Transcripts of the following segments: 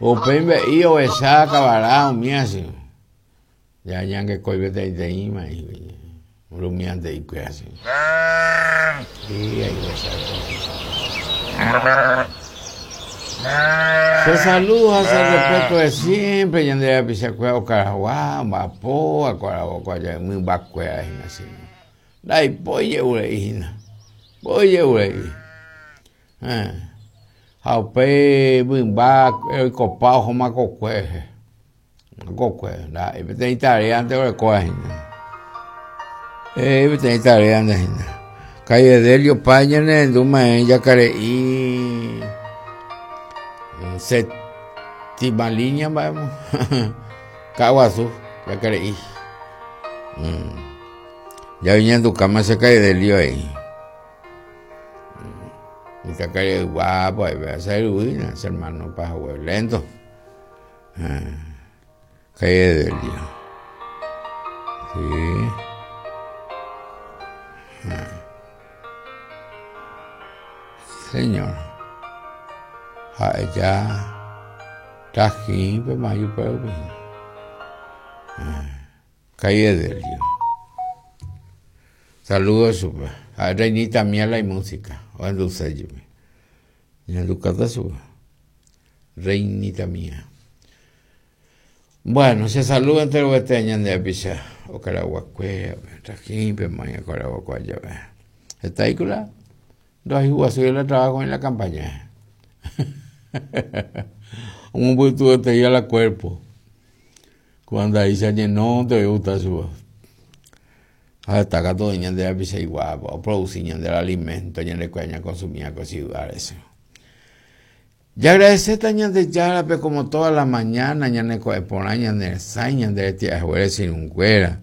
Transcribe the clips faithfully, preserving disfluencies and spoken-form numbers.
Upéi mbe'i ovecha kavara umíva che. Ya ñangekói peteĩteĩma rumiante ikuéra che. Sí, ahí ovecha. Se saluda, se respeto de siempre, ñande rapichakuéra okaragua, omba'apo, akuaravo mymbakuéra hína che. Ndaipói je'urei hína, mbói je'urei. Ha upéi mymba oikopa ohóma kokue, kokue, ndaha'éi peteĩ tareante orekóva hína. Peteĩ tareante hína. Calle Delio Paz ñanerendúma Jacare'i séptima línea mba'émo Ka'aguasu Jacare'i. Ya oñandukáma che Calle Delio ahí. Mitãkaria'y guapo che ryvýna che hermano pahague lento. Calle Delio. Sí. Señor. Ha'e ja Tajípe majupe Calle Delio. Saludos chupe. Ha'e reinita mía la música. Ohenduse jepi. Ñandukáta chupe. Reinita mía. Bueno, se saluda enterovete ñande rapicha okaraguakuérape, Tajípe maña okaraguakue jave. Hetaikura ndohayhuguasúi la trabajo en la campaña. Omombytueterei la cuerpo. Cuando ahí se llenó, te gusta su. Ha katu ñande rapicha iguapo, oproduci ñande alimento, ñande kuéra consumía ko ciudades. Ya agradeceta Ñandejárape como toda la mañana ñane ko'ẽ porã ñane resãi ñande retia'ejuere che irũnguéra.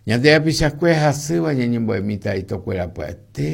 Ñande rapichakuéra hasýva ñañembo'emíta itokuéra pya'ete.